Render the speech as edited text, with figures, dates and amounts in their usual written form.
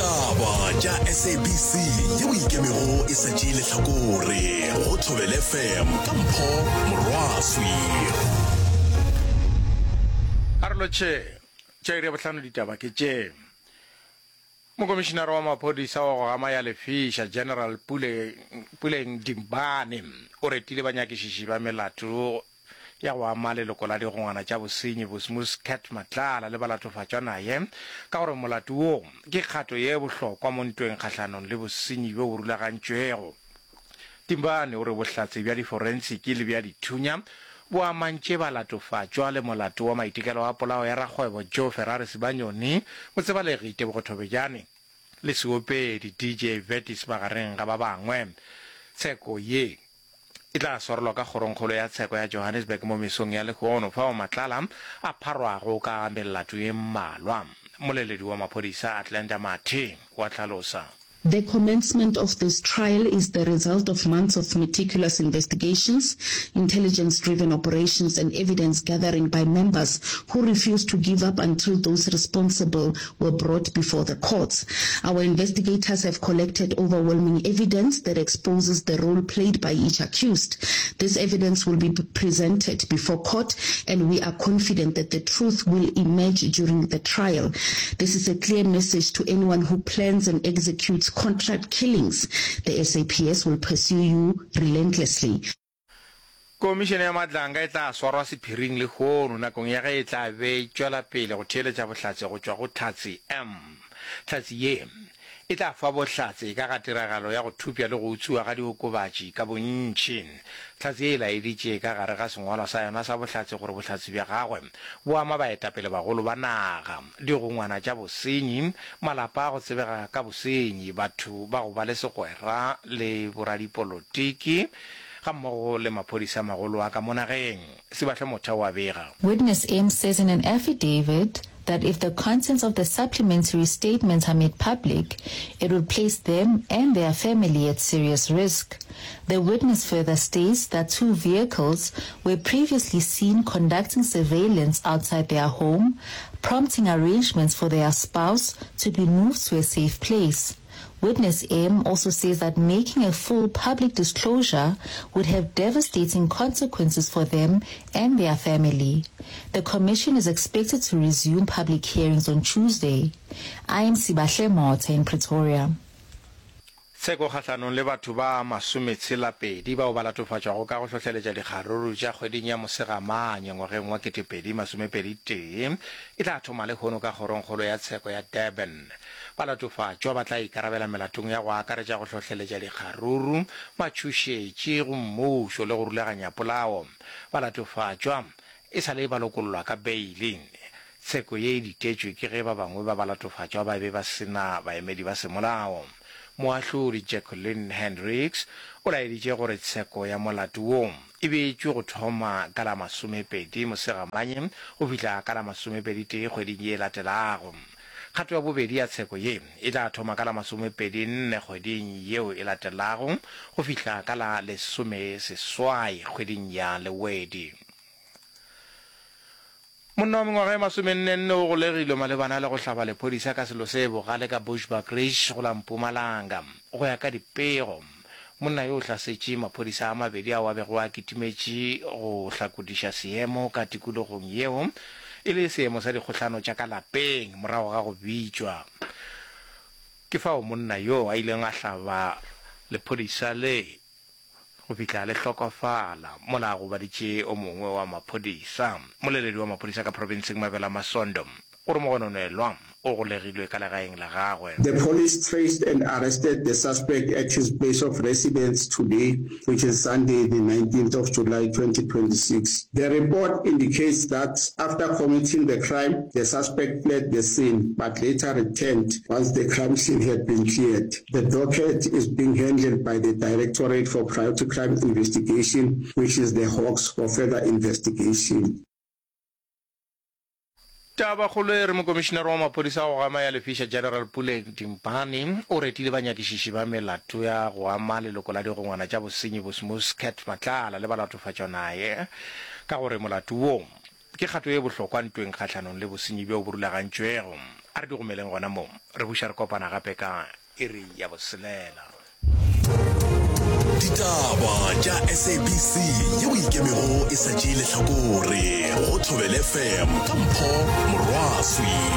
Ditaba tša SABC yeo ikemego e sa tšee lehlakore go Thobela FM ka Mpho Morwaswi. A re lotšhe tša iri ya bohlano ditaba ke tše. Mokomišinara wa maphodisa wa go gama ya lefiša General Pule, Puleng Dimbane o retile banyakišiši ba melato ya go ama leloko la digongwana tša bosenyi Bosmus Cat Matlala le balatofatšwa naye ka gore molato wo ke kgato ye bohlokwa mo ntweng kgahlanong le bosenyi bjo bo rulagantšwego. Timbane o re bohlatse bja diforensiki le bja dithunya bo amantše balatofatšwa le molato wa maitekelo a polao ya rakgwebo Joe Ferrari Sibanyoni, motsebalegi Tebogo Thobejane le seopedi DJ Vertis magareng ga ba bangwe. Tsheko ye e tla swarelwa ka Kgorongkgolo ya Tsheko ya Johannesburg mo mesong ya lehono fao Matlala a pharwago ka melato ye mmalwa. Mmoleledi wa maphodisa Atlanta Mathe wa hlalosa. The commencement of this trial is the result of months of meticulous investigations, intelligence-driven operations and evidence gathering by members who refused to give up until those responsible were brought before the courts. Our investigators have collected overwhelming evidence that exposes the role played by each accused. This evidence will be presented before court and we are confident that the truth will emerge during the trial. This is a clear message to anyone who plans and executes contract killings. The SAPS will pursue you relentlessly. Komišene ya Madlanga e tla swarwa sephiring lehono nakong ya ge e tla be e tšwela pele go theeletša bohlatse go tšwa go Hlatse M. Hlatse ye e tla fa bohlatse ka ga tiragalo ya go thupša le go utswiwa ga diokobatši ka bontši. Hlatse ye e laeditše ka gare ga sengwalwa sa yona sa bohlatse gore bohlatse bja gagwe bo ama baetapelebagolo ba naga, digongwana tša bosenyi, malapa a go tsebega ka bosenyi, batho ba go ba le segwera le boradipolotiki gammogo le maphodisa a magolo a ka mo nageng. Sibahle Motha o a bega. Witness M says in an affidavit that if the contents of the supplementary statements are made public, it would place them and their family at serious risk. The witness further states that two vehicles were previously seen conducting surveillance outside their home, prompting arrangements for their spouse to be moved to a safe place. Witness M also says that making a full public disclosure would have devastating consequences for them and their family. The commission is expected to resume public hearings on Tuesday. I am Sibahle Motha in Pretoria. Tsheko kgahlanong le batho ba masometshela-pedi bao ba latofatšwago ka go hlohleletša dikgaruru tša kgweding ya Mosegamanye ngwageng wa 2021 e tla thoma lehono ka Kgorongkgolo ya Tsheko ya Durban. Balatofatšwa ba tla ikarabela melatong ya go akaretša go hlohleletša dikgaruru, matšhošetši go mmušo le go rulaganya polao. Balatofatšwa e sa le ba lokollwa ka beili. Tsheko ye e ditetšwe ke ge ba bangwe ba balatofatšwa ba be ba se na baemedi ba semolao. Moahlodi Jacqueline Hendricks o laeditše gore tsheko ya molato wo e beetšwe go thoma ka la masomepedi Mosegamanye go fihla ka la masomepeditee kgweding ye e latelago. Kgato ya bobedi ya tsheko ye e tla thoma ka la masomepedi-nne kgweding yeo e latelago go fihla ka la lesomeseswai kgweding ya Lewedi. Monna wa mengwaga e masomenne-nne o golegilwe malebana le go hlaba lephodisa ka selo se bogale ka Bushbuckridge go la Mpumalanga. Go ya ka dipego, monna yo o hlasetše maphodisa a mabedi ao a bego a kitimetše go hlakodiša seemo ka tikologong yeo e le seemo sa dikgohlano tša ka lapeng morago ga go bitšwa. Ke fao monna yo a ileng a hlaba lephodisa le go fihla le hlokofala mola a gobaditše o mongwe wa maphodisa. Moleledi wa maphodisa ka profenseng Mabela Masondo o re mogononelwa o golegilwe ka legaeng la gagwe. The police traced and arrested the suspect at his place of residence today, which is Sunday, the 19th of July 2026. The report indicates that after committing the crime, the suspect fled the scene but later returned once the crime scene had been cleared. The docket is being handled by the Directorate for Priority Crime Investigation, which is the Hawks, for further investigation. Tabakgolo e re Mokomišinare wa Maphodisa a go gama ya Lefiša General Puleng Dimpane o retile banyakišiši ba melato ya go ama leloko la digongwana tša bosenyi Bosmus Cat Matlala le balatofatšwa naye ka gore molato wo ke kgato ye bohlokwa ntweng kgahlanong le bosenyi bjo bo rulagantšwego. A re di gomeleng gona mo. Re buša re kopana gape ka iri ya boselela. Ditaba tša SABC yeo e ikemego e sa tšee lehlakore go Thobela FM ka Mpho Morwaswi.